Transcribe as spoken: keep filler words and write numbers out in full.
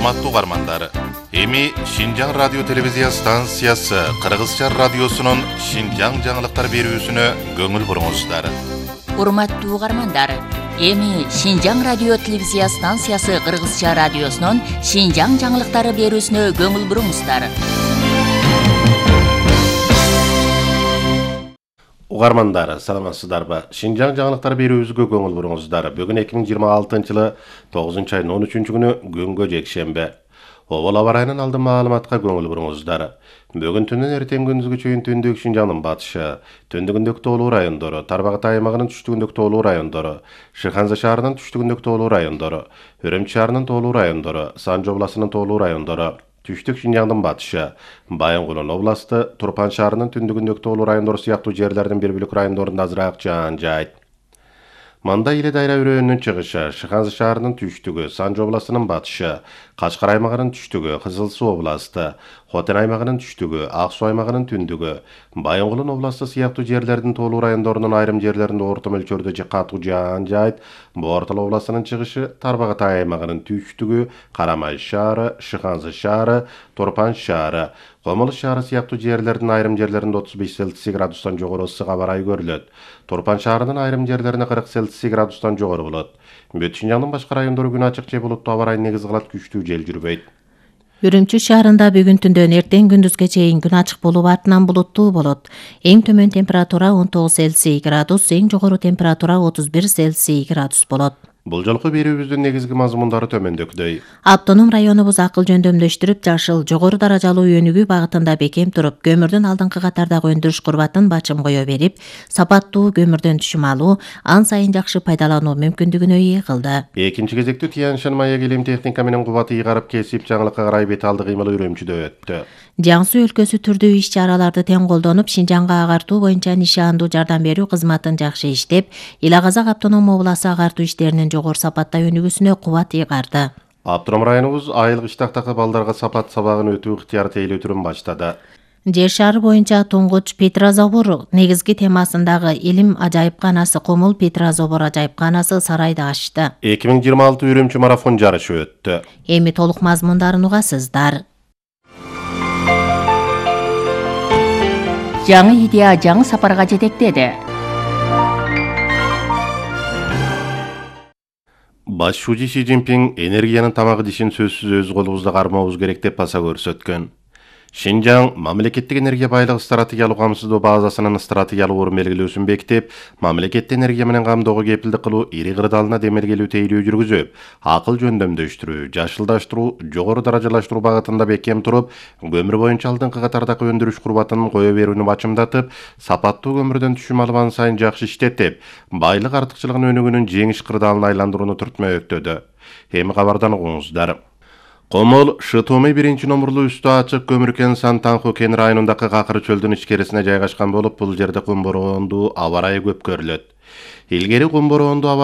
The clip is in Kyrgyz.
Урматтуу угармандар, эми Шинжаң радио телевизия станциясы Кыргызча радиосунун Шинжаң жаңылыктар берүүсүнө көңүл буруңуздар. Урматтуу угармандар, эми Шинжаң радио телевизия станциясы Кыргызча радиосунун Шинжаң жаңылыктары берүүсүнө көңүл буруңуздар. Угармандар, саламатсыздарбы? Шинжаң жаңылыктар берүүбүзгө көңүл буруңуздар. Бүгүн эки миң жыйырма алтынчы жылы тогузунчу айдын он үчүнчү күнү күнгө жекшемби. Обол аба райынын алдын маалыматка көңүл буруңуздар. Бүгүн түндөн эртең күндүзгө чейин түндүк Шинжаңдын батышы, түндүгүндөгү тоолуу райондору, Тарбагат аймагынын түштүгүндөгү тоолуу райондору, Шыханза шаарынын түштүгүндөгү тоолуу райондору, Өрөмчү шаарынын тоолуу райондору, Санжы областынын тоолуу райондору, Түштүк Шинжаңдын батышы, Байынгулун областы, Турпан шаарынын түндүгүндөгү тоолуу райондору сыяктуу жерлердин бир бөлүк райондорунда азыраак жаан жаайт. Манда Иле дайра өрөөнүнүн чыгышы, Шыханза шаарынын түштүгү, Санжы областынын батышы, Качкар аймагынын түштүгү, Кызыл Суу областы, Хотен аймагынын түштүгү, Ак Суу аймагынын түндүгү, Байынгулун областы сыяктуу жерлердин тоолуу райондорунун айрым жерлеринде орто мөлчөрдө катуу жаан жаайт. Бортол областынын чыгышы, Тарбагат аймагынын түштүгү, Карамай шаары, Шыханза шаары, Турпан шаары, Комулуш шаары сыяктуу жерлердин айрым жерлеринде отуз беш Цельсий градустан жогору ысык аба ырайы көрүлөт. Турпан шаарынын айрым жерлерине кырк Цельсий градустан жогору болот. Бүт Шинжаңдын башка райондору күн ачык же булуттуу аба райын негиз кылат, күчтүү жел жүрбөйт. Өрөмчү шаарында бүгүн түндөн эртең күндүзгө чейин күн ачык болуп артынан булуттуу болот. Эң төмөн температура он тогуз Цельсий градус, эң жогору температура отуз бир Цельсий градус болот. Бул жолку берүүбүздүн негизги мазмундары төмөндөгүдөй. Автоном районубуз акыл жөндөмдөштүрүп, жашыл, жогору даражалуу өнүгүү багытында бекем туруп, көмүрдүн алдыңкы катардагы өндүрүш курбатын бачым кое берип, сапаттуу көмүрдөн түшүм алуу, ан сайын жакшы пайдалануу мүмкүндүгүнө ээ кылды. Экинчи кезекте Тянь-Шань маек илим техника менен кубаты ыйгарып кесип, жаңылыкка карай бет алды кыймылы Үрөмчүдө өттү. Жаңсу өлкөсү түрдүү иш-чараларды тең колдонуп, Шинжаңга агартуу боюнча нишандуу жардам берүү кызматын жакшы иштеп, Ила Казак автоном обласы агартуу иштеринин жогору сапатта өнүгүүсүнө кубат ыйгарды. Автоном районубуз айылык иштактагы балдарга сапат сабагын өтүү ыктыяр тейлөө түрүн баштады. Жер шары боюнча туңгуч Петрозобор негизги темасындагы илим ажайыпканасы Комул Петрозобор ажайыпканасы сарайды ачты. эки миң жыйырма алты Үрөмчү марафон жарышы өттү. Эми толук мазмундарын угасыздар. Жаңы идея жаңы сапарга жетектеди. Баш шужи Си Цзиньпин энергиянын тамагы дишин сөзсүз өз колубузда кармообуз керек деп баса көрсөткөн. Шинжаң мамлекеттик энергия байлыгы стратегиялык камсыздоо базасынын стратегиялык орун белгилөөсүн бекитип, мамлекетти энергия менен камдоого кепилдик кылуу ири кырдаалына демелгелүү тейлөө жүргүзүп, акыл жөндөмдөштүрүү, жашылдаштыруу, жогору даражалаштыруу багытында бекем туруп, көмүр боюнча алдыңкы катардагы өндүрүш курбатын кое берүүнү бачымдатып, сапаттуу көмүрдөн түшүм алып ан сайын жакшы иштетип, байлык артыкчылыгын өнүгүүнүн жеңиш кырдаалына айландырууну түртмө өктөдү. Эми кабардан угуңуздар. Комол Шытомый биринчи номурлуу үстү ачык көмүркен Сантанху кен районундагы какыр чөлдүн ичкерисине жайгашкан болуп, бул жерде кум бороондуу аба ырайы көп көрүлөт. Илгери кум бороондуу аба